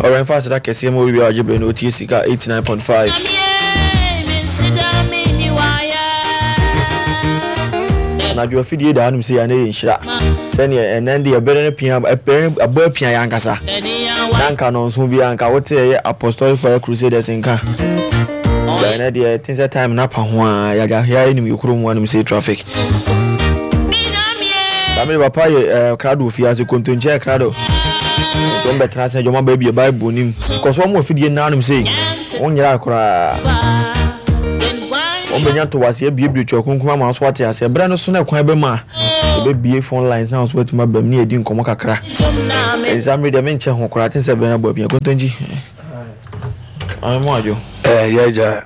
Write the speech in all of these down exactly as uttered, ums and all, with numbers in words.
Ɔrɛnfa aseda kɛseɛ ma obi biara ɔgye berɛ na ɔtie Sika eighty-nine point five. Anadwo afidie da hanom sɛ yɛ ana yɛ nhyira sɛneɛ ɛnɛ deɛ ɛbɛrɛ no pia, ɛbɛrɛ no abɔ apia yɛ ankasa na nka nɔnso biara nka wote ɛyɛ Apostolic Fire Crusaders nka. Ɛnɛ deɛ ɛte sɛ time na pa ho a yɛagya yɛayɛ nim yɛ kurom hanom sɛ traffic saa mede papa yɛ ɛɛ krado fie ase kontonkyɛ krado nti wɔn bɛtena ase adwuma baabi Bible nim kɔ so wɔn afidie nanom sei wɔn nyera koraa wɔn bɛnya ntowaseɛ abiebie Twerɛ Kronkron ama so ate aseɛ. Berɛ no so na ɛkwan bɛma a yɛbɛbie phone lines na nso atumi aba mu ne yɛdi nkɔmmɔ kakra. Ɛnsa mmere deɛ menkyɛ ho koraa te sɛ berɛ no abɔ apia. Kontonkyi ame mu adwo. Ɛɛ, yɛgya.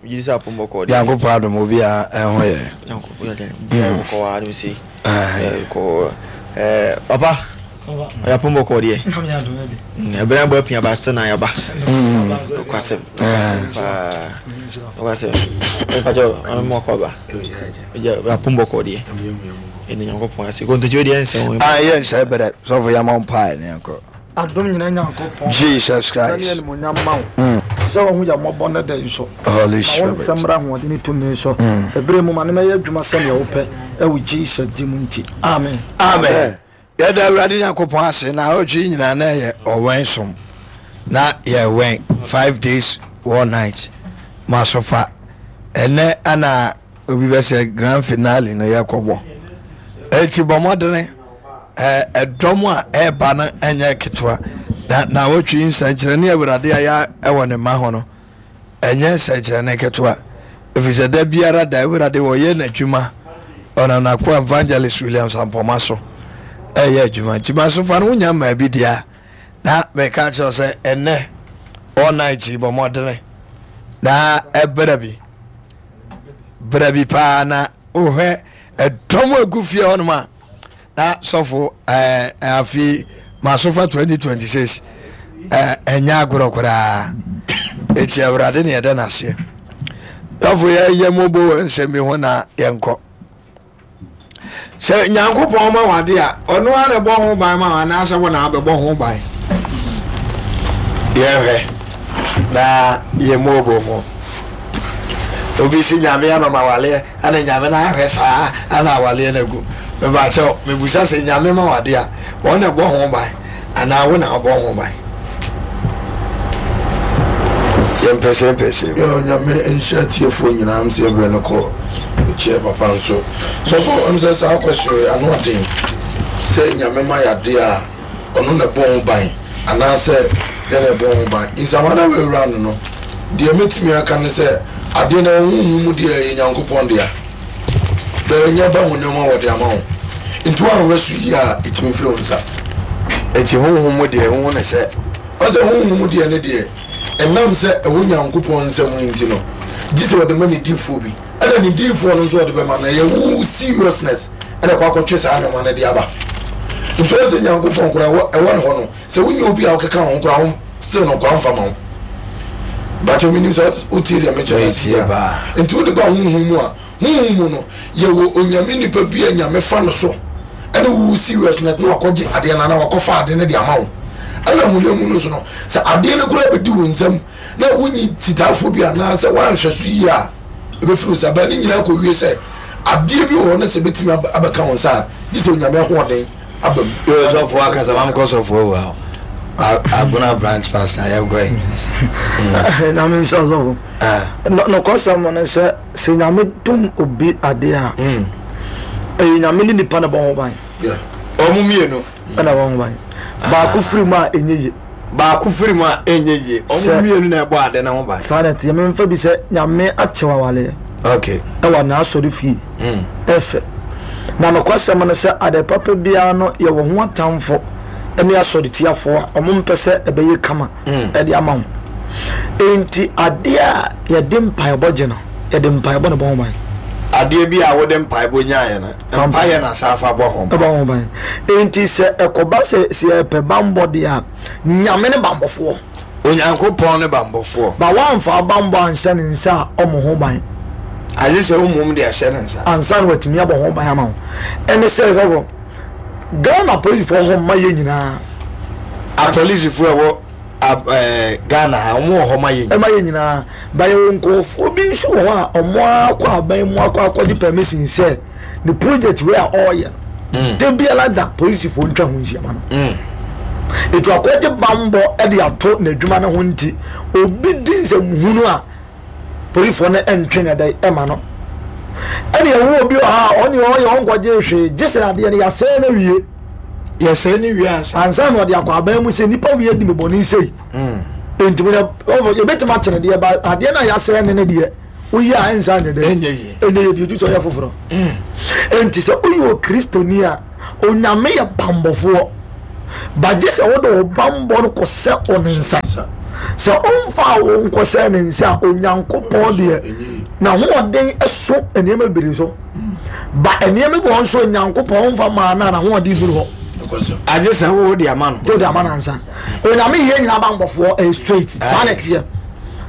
Megye di sɛ apom bɔkɔɔ deɛ. Nyankopɔn adom, obiara ɛho yɛ. Nyankopɔn yɛ biara bɔkɔɔ wɔ ha nom sei. Ɛɛ, ɛɛ, papa ɔyɛ apom bɔkɔɔ deɛ. Ɛberɛ abɔ apia ba still na yɛaba. Nokwasɛm paa, nokwasɛm. Mpakyɛ ame mu akɔ aba apom bɔkɔɔ deɛ, ɛne Nyankopɔn ase. Kontonkyi deɛ ɛnsɛ ho. Ah, yɛ nsɛ bɛrɛ sɔfo yɛma mpae ne yɛnkɔ. Adom nyina Nyankopɔn. Jesus Christ. Ne animonyam ma wo sɛ wɔho yɛ mmɔbɔ no da yi so. Holy Ma wo Spirit. nsɛm mmra ahoɔden ne tumi so ɛberɛ mu ma ne mɛyɛ adwuma sɛnea wopɛ ɛwɔ Jesus di mu nti, amen. Amen. Yɛda Awurade Nyankopɔn ase na ɔtwe nyinaa na ɛyɛ ɔwɛn som na yɛwɛn five days one night ma so fa. Ɛnɛ ana obi bɛsɛ grand finale no yɛkɔbɔ, eti bɔ mmɔdene. Ɛɛ, ɛdɔm a ɛreba no ɛnyɛ ketewa na na wɔtwe nsɛnkyerɛnne Awurade ayɛ ɛwɔ ne mma ho no ɛnyɛ nsɛnkyerɛnne ketewa, ɛfiri sɛ da biara da Awurade wɔyɛ n'adwuma. Ɔnam n'akoa Evangelist Williams Ampɔma so ɛyɛ adwuma, nti ma so fa no wonya mmaa bi deɛ a na meka kyerɛ sɛ ɛnɛ all night yi, bɔ mmɔdene na ɛbrɛ bi, brɛ bi paa na wohwɛ ɛdɔm agu fie hɔnom a na sɔfo ɛɛ afi masofa twenty twenty-six ɛɛ ɛnyɛ agorɔ koraa. Eti Awurade ne yɛda n'aseɛ. Sɔfo, yɛyɛ mɔbo wɔ nsɛm bi ho na yɛnkɔ sɛ Nyankopɔn ma wade a, ɔno ara na ɛbɔ ho ban ma wo anaasɛ wo na abɛbɔ ho ban. Yɛhwɛ na yɛ mɔbo ho. Obi si Nyame ama ma waleɛ ana Nyame no ahwɛ saa ana awaleɛ no agu. Mebakyɛw, mebusa sɛ Nyame ma wade a, wɔn na ɛbɔ ho ban anaa wo na wobɔ ho ban? Yɛmpɛsɛ mpɛsɛ. Yɛ Onyame nhyira tiefoɔ nyinaa. M sɛ ɛberɛ no kɔ mekyerɛ papa nso sɔfo m sɛ saa question yi ano ɔden sɛ Nyame ma yɛade a, ɔno na ɛbɔ ho ban anaasɛ yɛ na ɛbɔ ho ban. Nsamada wɛwura no no deɛ mɛtumi aka ne sɛ adeɛ no ɛwɔ honhom mu deɛ, ɛyɛ Nyankopɔn dea, bɛnyɛ ba honam a wɔde ama wo, nti woanhwɛ so yie a, ɛtumi firi wo nsa. Eti honhom mu deɛ, wohu ne sɛ Ɔsɛ honhom mu deɛ ne deɛ, ɛnam sɛ ɛwɔ Nyankopɔn nsɛm nti no, gye sɛ wɔde ma ne diifoɔ bi, ɛna ne diifoɔ no nso ɔde bɛma no, ɛyɛ wo seriousness ɛna ɛkɔ akɔtwe saa nneɛma no de aba. Nti ɔsɛ Nyankopɔn koraa ɛwɔ ɛwɔ ne hɔ no sɛ wonyɛ obi a wokeka wo ho koraa wo still no koraa mfa ma wo bakyɛ. Menim sɛ wotie deɛ mekyerɛ no ase Metie a. paa. Nti wode ba honhom mu a, honhom mu no yɛwɔ Onyame nipa bi a Nyame fa no so ɛne wo seriousness na wakɔgye adeɛ no anaa wakɔfa adeɛ no de ama wo. Ɛna honam mu no so no, sɛ adeɛ no koraa bɛdi wo nsam na wonyi titaafoɔ bi anaasɛ woanhwɛ so yie a, ɛbɛfiri wo nsa bɛn ne nyinaa kɔwie sɛ adeɛ bi wɔ hɔ no sɛ bɛtumi aba- abɛka wo nsa a, gye sɛ Onyame ahoɔden aba mu. Yɛ sɔfo akasa mam kɔ sɔfo wɔ hɔ, Agona branch pastor, yɛnkɔ yi. Nyame nhyira sɔfo. Nɔkɔsɛm no sɛ sɛ Nyame dom obi adeɛ a, ɛyɛ Nyame ne nipa no bɔ ho ban. Yeah. Ɔmo mmienu. Ɛna bɔ ho ban. Baako firi mu a, ɛnyɛ yie. Baako firi mu a, ɛnyɛ yie. Ɔmo Sɛ- mmienu na ɛbɔ ade no ho ban. Saa na ɛteɛ. Memfa bi sɛ Nyame akyɛw awaleɛ okay ɛwɔ n'asɔre fie mm. ɛfɛ na nokwasɛm no sɛ ade papa biara no, yɛwɔ ho atamfo ne asɔretiafoɔ a ɔmo mpɛ sɛ ɛbɛyɛ kama ɛde ama wo. Enti adeɛ a yɛde mpaebɔ gye no, yɛde mpaebɔ ne bɔ ho ban. Adeɛ bi a wode mpaebɔ nyaeɛ no, mpaeɛ na sa afa bɔ ho ban. Ɛbɔ ho ban. Enti sɛ ɛkɔba sɛ sɛ yɛpɛ bambɔ deɛ a, Nyame ne bambɔfoɔ. Onyankopɔn ne bambɔfoɔ. Ba woamfa bambɔ anhyɛ ne nsa a, ɔmo ho ban. Agye sɛ womom de ahyɛ ne nsa. Ansa na watumi abɔ ho ban ama wo. Ɛne sɛ sɔfo, Ghana polisifoɔ hɔ mma yɛ nyinaa. Apolisifoɔ a ɛwɔ Ghana ha ɔmo wɔ hɔ ma yɛ ɛma yɛ nyinaa ba yɛwɔ nkurɔfoɔ bi nso wɔ hɔ a ɔmo akɔ aban mu akɔ akɔgye permission sɛ ne project wei a ɔreyɛ no de biara da polisifoɔ ntwa ho nhyia ma no etu akɔgye bambɔ ɛde ato n'adwuma no ho nti obi di nsɛmhunu a polisifoɔ no ɛntwe ne dɛ ɛma no ɛne ɛwɔ obi wɔ ha a ɔne ɔyɛ ɔnkɔgye hwee gye sɛ adeɛ no yɛasɛe no wie yɛsɛe no wie ansa ansa na ɔde akɔ aban mu sɛ nipa wie di me bɔne sei nti yɛbɛtumi akyene deɛ ba adeɛ no a yɛasɛe ne ne deɛ woyi a ɛnsa nyɛ dɛ ɛnyɛ yie ɛnyɛ yie bi sɛ ɔyɛ foforɔ nti sɛ woyɛ okristoni a onyame yɛ bambɔfoɔ bagye sɛ wode wo bambɔ no kɔsɛ ɔne nsa sɛ ɔmfa wo nkɔsɛ ne nsa a onyankopɔn deɛ n'ahoɔden so nneɛma bebree so ba nneɛma bi wɔ nso onyankopɔn ɔmfa maa no a n'ahoɔden duru hɔ agye sɛ wo de ama no wode ama no ansa onyame yɛ nyinaa bambɔfoɔ ɛyɛ straight saa na ɛteɛ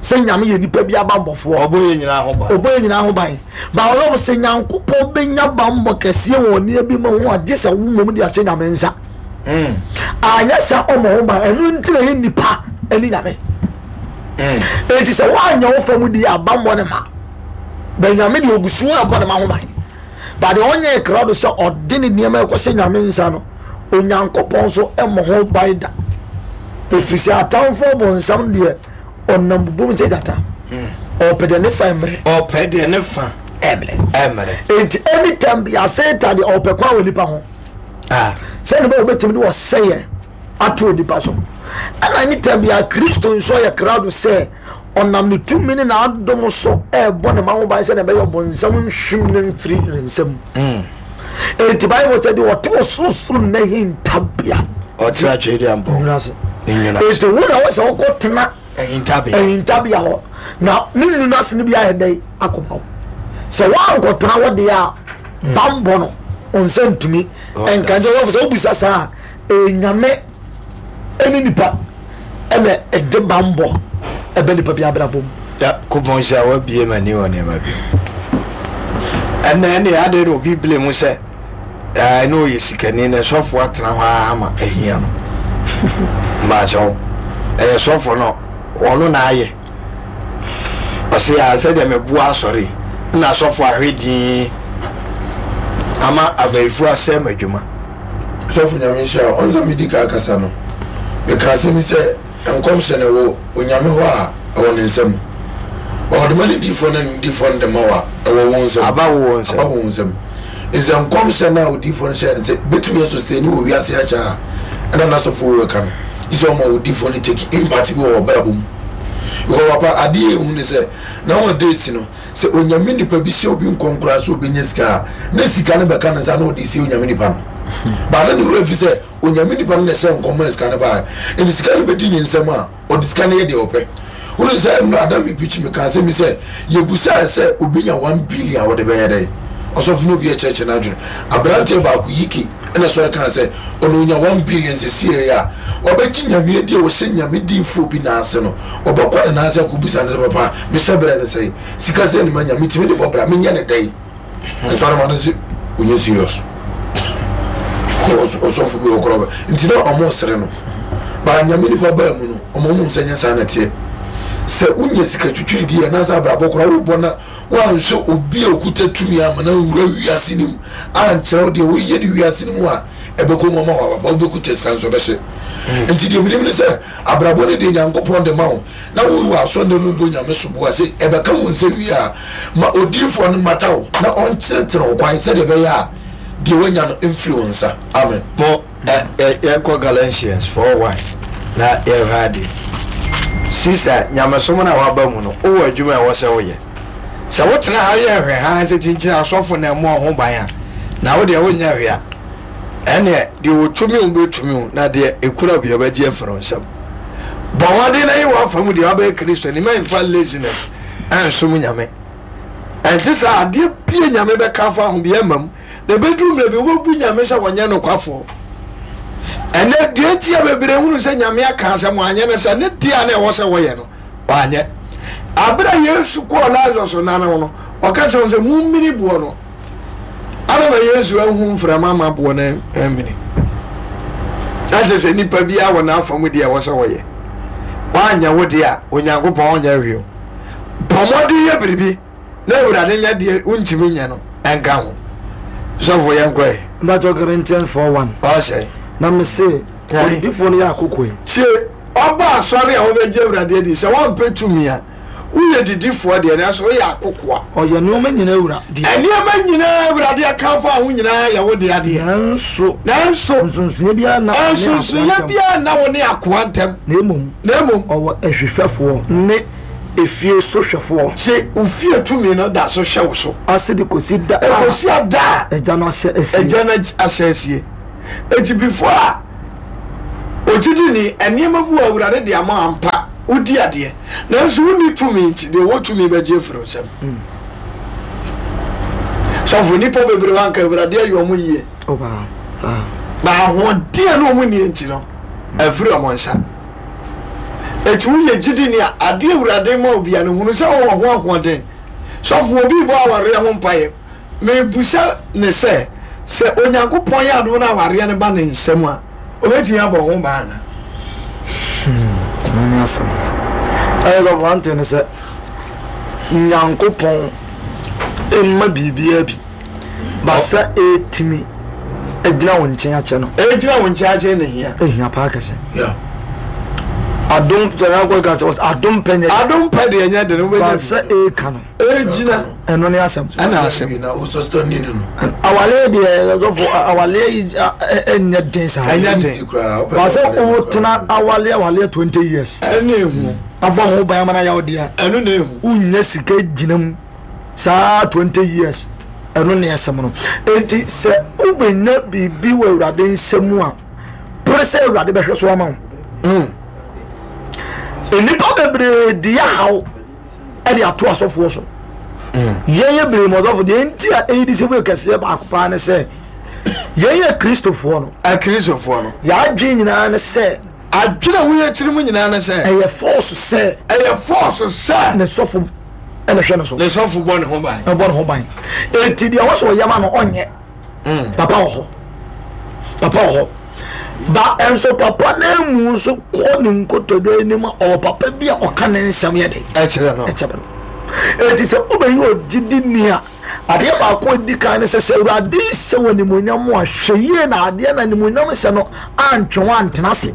sɛ nyame yɛ nipa bi abambɔfoɔ ɔbɔ yɛ nyinaa ho ban ɔbɔ yɛ nyinaa ho ban ba ɔlɔfo sɛ nyankopɔn bɛnya bambɔ kɛseɛ wɔ nneɛma bi ma ho agye sɛ wo mmom de ahyɛ nyame nsa anyɛ sɛ ɔmɔ ho ban ɛno nti na yɛ nipa ɛne nyame enti sɛ woanyɛ wo fam di abambɔ ne ma bɛnyame deɛ ɔgu so a ɛbɔ ne ma ho ban ba deɛ ɔnyɛ krado sɛ ɔde ne nneɛma ɛkɔ sɛ nyame nsa no onyankopɔn nso ɛmmɔ ho ban da ɛfiri sɛ atamfoɔ bɔnsam deɛ ɔnam bobom sɛ gyata ɔpɛ deɛ ne fa mmerɛ ɔpɛ deɛ ne fa ɛmmerɛ ɛmmerɛ enti anytime bi asɛta deɛ ɔpɛ kwan wɔ nipa ho sɛne bɛ wɔbɛtumi de wɔsɛeɛ ato nipa so ɛna anytime bi a kristo nso yɛ krado sɛ ɔnam ne tumi ne n'adom so ɛɛbɔ ne ma ho ban sɛdeɛ ɛbɛyɛ ɔbɔnsam nhwim ne mfiri ne nsam enti bible sɛ deɛ ɔte ɔsorosoro n'ahintabea ɔtena twɛdi ampɔ nwuna ase ne nwuna ase enti wo na wɔ sɛ wokɔtena ahintabea ahintabea hɔ na ne nwuna ase no bi ayɛ dɛn akɔba wo sɛ woankɔtena hɔ deɛ a bambɔ no ɔnsa ntumi ɛnka nkyɛ wɔfo sɛ wobisa saa a ɛyɛ nyame ɛne nipa ɛna ɛde bambɔ ɛbɛ nipa bi abrabɔ mu kopɔn sɛ wabie m'ani wɔ nneɛma bi ɛnna ɛne ade na obi bile mu sɛ ɛɛ na ɔyɛ sikani na sɔfo atena hɔ ara ama ahia no mbaakyɛw ɛyɛ sɔfo no ɔno na ayɛ ɔsɛ a sɛdeɛ meboa asɔre na sɔfo ahwɛ din ama abayifo asɛe m'adwuma sɔfo nyame nhyira wo. ɔno sɛ medi ka akasa no meka asɛm yi sɛ nkɔmhyɛ no ɛwɔ onyame hɔ a ɛwɔ ne nsam ɔde ma ne diifoɔ no ne diifoɔ no de ma wo a ɛwɔ wo nsam aba wo wɔ nsam aba wo nsam nsɛ nkɔmhyɛ no a odiifoɔ no hyɛ no sɛ bɛtumi asustain wɔ wiase akyɛ a ɛna n'asɔfoɔ wei bɛka no gye sɛ ɔma odiifoɔ no take impact bi wɔ ɔbrabɔ mu because papa adeɛ ɛhu ne sɛ nowadays no sɛ onyame nipa bi hyɛ obi nkɔm koraa sɛ obɛnya sika a na sika no bɛka ne nsa na ɔde sie onyame nipa no baa na ne wura fi sɛ onyame nipa no na ɛhyɛ nkɔm ma sika no baa nti sika no bɛdi ne nsɛm a ɔde sika no yɛ deɛ ɔpɛ wone sɛ nnura adam mi pikyi mi ka asɛm yi sɛ yɛbusaa sɛ obi nya one billion a wɔde bɛyɛ dɛn ɔsɔfo no obi ɛkyerɛkyerɛ n'adwene aberanteɛ baako yike ɛna sɔre kaa sɛ ɔno onya one billion sisi yɛ a ɔbɛgye nyame adi a wɔhyɛ nyame diifoɔ bi n'ase no ɔbɛkɔ ne n'ase akɔbisa no sɛ papa mehyɛ berɛ ne sɛe sika sɛ ne ma nya metumi de bɔ bra menyɛ ne dɛn nsɔre ma no sɛ ɔnyɛ serious ɔsɔfo bi wɔ korɔ bɛ nti na ɔmo sere no ba nyame nipa baa mu no ɔmo ɔmo sɛ nyɛ saa na teɛ sɛ wonya sika twitwiri di anaasɛ abrabɔ koraa wobɔ na woanhwɛ obi a okuta tumi ama na nwura wiase no mu ankyerɛ wo deɛ woyɛ ne wiase no mu a ɛbɛkɔ mu ama wababa wobɛkuta sika nso ɛbɛhye nti deɛ menim ne sɛ abrabɔ no deɛ nyankopɔn de ma wo na wowɔ asɔnda mu bɔ nyame so boa sɛ ɛbɛka wo nsɛ wie a ma odiyifoɔ no mmata wo na ɔnkyerɛkyerɛ wo kwan sɛdeɛ ɛbɛyɛ a deɛ woanya no mfiri wo nsa amen mo ɛ ɛ yɛnkɔ Galatians four one na yɛhwɛ ade sista nyamesom no a waba mu no wowɔ adwuma a ɛwɔ sɛ woyɛ sɛ wotena ha yɛ hwɛ ha sɛ kyinkyini asɔfo na ɛmmɔ ho ban a na wo deɛ wonyɛ hwɛ a ɛneɛ deɛ wɔtumi wo bɛtumi wo na deɛ ɛkura bi ɔbɛgye afiri wo nsam bɔ mmɔden na yi w'afa mu deɛ wabɛyɛ kristo ni mɛmfa laziness ɛnsom nyame ɛnte sɛ adeɛ pie nyame bɛka fa ho bi ɛma mu na ɛbɛduru mmerɛ bi wobɛbu nyame sɛ wɔnyɛ nokwafoɔ ɛnɛ deɛ nti a bebree hunu sɛ nyame aka asɛm anyɛ no sɛ ne deɛ a na ɛwɔ sɛ wɔyɛ no wanyɛ abere a yesu kɔɔ lazarus nane ho no ɔka kyerɛ wɔn sɛ mummini boɔ no ana na yesu ahu mframa ma boɔ no amini na kyerɛ sɛ nipa biara wɔ n'afa mu deɛ ɛwɔ sɛ wɔyɛ Woanyɛ wo deɛ a, Onyankopɔn ɔnyɛ hwee o. Bɔ mmɔden yɛ biribi na Awurade nyɛ deɛ wontumi nyɛ no ɛnka ho. Sɔfo yɛnkɔ ɛ. Mpakyɛw Corinthians four one. Ɔsɛ. Na mese, onidifoɔ no yɛ akokoe. Tie, ɔba asɔre a wobɛgye Awurade adi sɛ woampɛ tumi a, woyɛ didifoɔ deɛ, nanso woyɛ akokoa. Ɔyɛ nneɛma nyinaa wura deɛ. Nneɛma nyinaa Awurade aka fa ho nyinaa yɛ wo dea deɛ. Nanso. Nanso. Nsonsonoeɛ biara nna wo ne akoa ntam. Nsonsonoeɛ biara nna wo ne akoa ntam. Na mmom. Na mmom. Ɔwɔ ahwehwɛfoɔ ne efie sohwɛfoɔ. Gye wo fie tumi no da so hwɛ wo so. Ase de kɔsi da a. Ɛkɔsi ada a. Agya no ahyɛ asie. Agya no ahyɛ asie. Enti before a ogyidini nneɛma bi wɔ Awurade de ama ampa wodi adeɛ nanso wonni tumi nti deɛ ɔwɔ tumi bɛgye afiri wo nsam. Sɔfo nnipa bebree wɔ anka Awurade ayi wɔn yie. Na ahoɔden a na wɔn nni nti no afiri wɔn nsa. Eti woyɛ gyidini a adeɛ Awurade ma obia no hunu sɛ wɔwɔ ho ahoɔden. Sɔfo obi bɔ awareɛ ho mpaeɛ. Mebusa ne sɛ, sɛ Onyankopɔn yɛ adom na awareɛ no ba ne nsam a, obɛtumi abɔ ho ban ana? Hmm, ne asɛm. Ɛyɛ sɔfo ante ne sɛ Nyankopɔn mma biribiara bi ba sɛ ɛtumi gyina wo nkyɛn akyɛ no. Ɛgyina wo nkyɛn akyɛ na hia. Ɛhia paa kɛse. Adom sɛ na ka sɛ adom pɛ nyɛ. Adom pɛ deɛ nyɛ de no wobɛnya. Ba sɛ ɛka no. Ɛgyina. Ɛno ne asɛm. Ɛna asɛm. Awaleɛ deɛ sɔfo awaleɛ yi ɛnyɛ den saa. Ɛnyɛ den. Ba sɛ wotena awaleɛ awaleɛ twenty years. Ɛno ehu. Abɔ ho ban ama na yɛ wo dea. Ɛno na ehu. Wonya sika gyina mu saa twenty years. Ɛno ne asɛm no. Enti sɛ wobɛnya biribi wɔ Awurade nsam a, pere sɛ Awurade bɛhwɛ so ama wo. Nnipa bebree di ahaw ɛde ato asɔfoɔ so. Yɛn yɛ bere mu ɔsɔfo deɛ nti a ɛyi di sɛ kɛseɛ baako paa ne sɛ yɛn yɛ Kristofoɔ no. Akristofoɔ no. Yɛadwene nyinaa ne sɛ. Adwene a woyɛ kyerɛ mu nyinaa ne sɛ. Ɛyɛ force sɛ. Ɛyɛ force sɛ. Ne sɔfo ɛna hwɛ ne so. Ne sɔfo bɔ ne ho ban. Ɛbɔ ne ho ban. Eti deɛ wɔsɔ ɔyɛ ma no ɔnyɛ. Papa wɔ hɔ. Papa wɔ hɔ. Ba nso papa na emu nso kɔ ne nkotodwe anim a ɔwɔ papa bi a ɔka ne nsɛm yɛ de. Ɛkyerɛ no. Ɛkyerɛ no. Eti sɛ wobɛyi ogyidi ni a adeɛ baako a edi kan ne sɛ sɛ Awurade hyɛ wɔ animuonyam a hwɛ yie na adeɛ na animuonyam hyɛ no antwe wɔn antena ase.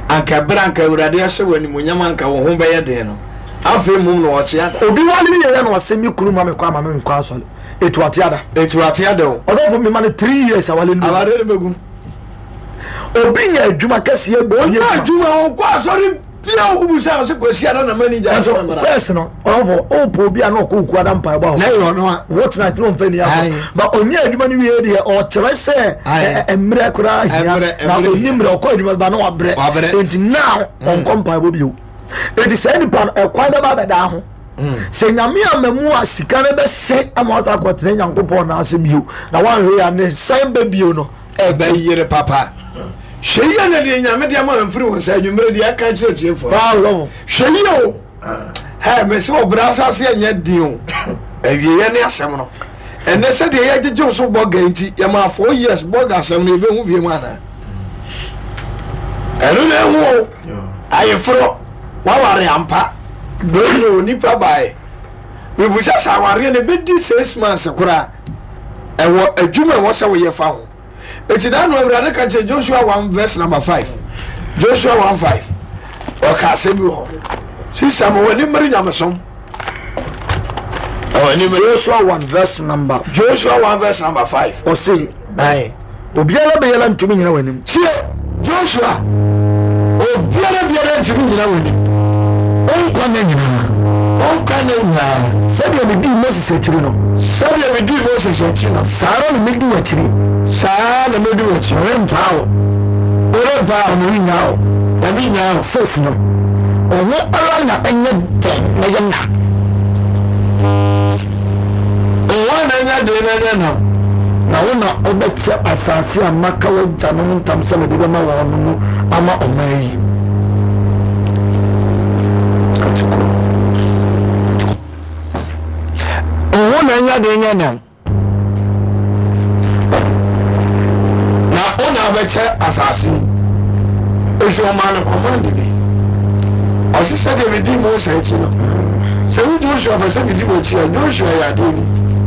Anka bere anka Awurade ahyɛ wɔ animuonyam anka wɔn ho bɛyɛ den no afei mum na ɔkye ada. Obi wale ne yɛ na ɔsɛ mi kunu ma me kɔ ama me nkɔ asɔre. Etu ate ada. Etu ate ada o. Ɔdɔfo mi ma no three years awale no. Awale no bɛgu. Obi nya adwuma kɛseɛ bie adwuma. Onya adwuma ɔnkɔ asɔre bia wobusa ɔsɛ kwasi ada na manager. Ɛnso first no ɔdɔfo ɔpɔ obi a na ɔkɔ oku ada mpaebɔ a. Na yɛ ɔno a. What night na ɔmfa ni akɔ. Ba onya adwuma no wie deɛ ɔkyerɛ sɛ mmerɛ koraa hia na ɔni mmerɛ ɔkɔ adwuma ba na wabrɛ. Enti now ɔnkɔ mpaebɔ bio. Enti saa nipa no ɛkwan bɛba abɛdaa ho. Sɛ nyame ama mu a sika no bɛse ama wasa akɔtena Nyankopɔn na ase bio na wanhwɛ ya ne san bɛ bio no ɛbɛyere papa. Hwɛ yie na deɛ nyame deɛ ma mfiri wo nsa adwummerɛ deɛ aka kyerɛ tiefoɔ. Hwɛ yie o. Hɛ mese ɔbrɛ asase ɛnyɛ den o. Awieɛ ne asɛm no. Ɛnɛ sɛdeɛ yɛgyegye wo so bɔga nti yɛma four years bɔga asɛm no yɛbɛhu bio mu anaa? Ɛno na ɛhu o. Ayeforɔ waware ampa. Dɔnno nipa bae. Mebusa sɛ awareɛ no ɛbɛdi six months koraa ɛwɔ adwuma ɛwɔ sɛ woyɛ fa ho. Eti da no Awurade ka kyerɛ Joshua one verse number five. Joshua one five. Ɔka asɛm bi wɔ hɔ. Sista ma w'ani mmere nyamesom. Joshua one verse number. Joshua one verse number five. Ɔse. Aye. Obiara biara ntumi nyina w'anim. Tie Joshua. Obiara biara ntumi nyina w'anim. Ɔnkwa na nyinaa. Ɔnkwa na nyinaa. Sɛdeɛ medii Moses akyiri no. Sɛdeɛ medii Moses akyiri no. Saa ara na medi w'akyiri. Saa na medi w'akyiri. Merempaa wo. Merempaa wo. Na merenyaa wo. Na merenyaa wo. Six no. Ɔho ara na ɛnyɛ den na yɛ na. Ɔho na ɛnyɛ den na ɛnyɛ nam. Na wo na wobɛkyɛ asase a maka w'agyanom ntam sɛ mede bɛma wɔn no mu ama ɔman yi. Ɔho na ɛnyɛ den nyɛ nam. Na wo na wobɛkyɛ asase yi. Enti ɔmaa no command bi. Ɔse sɛdeɛ medi Mose akyi no, sɛ wo Joshua pɛ sɛ medi w'akyi a, Joshua yɛ adeɛ bi.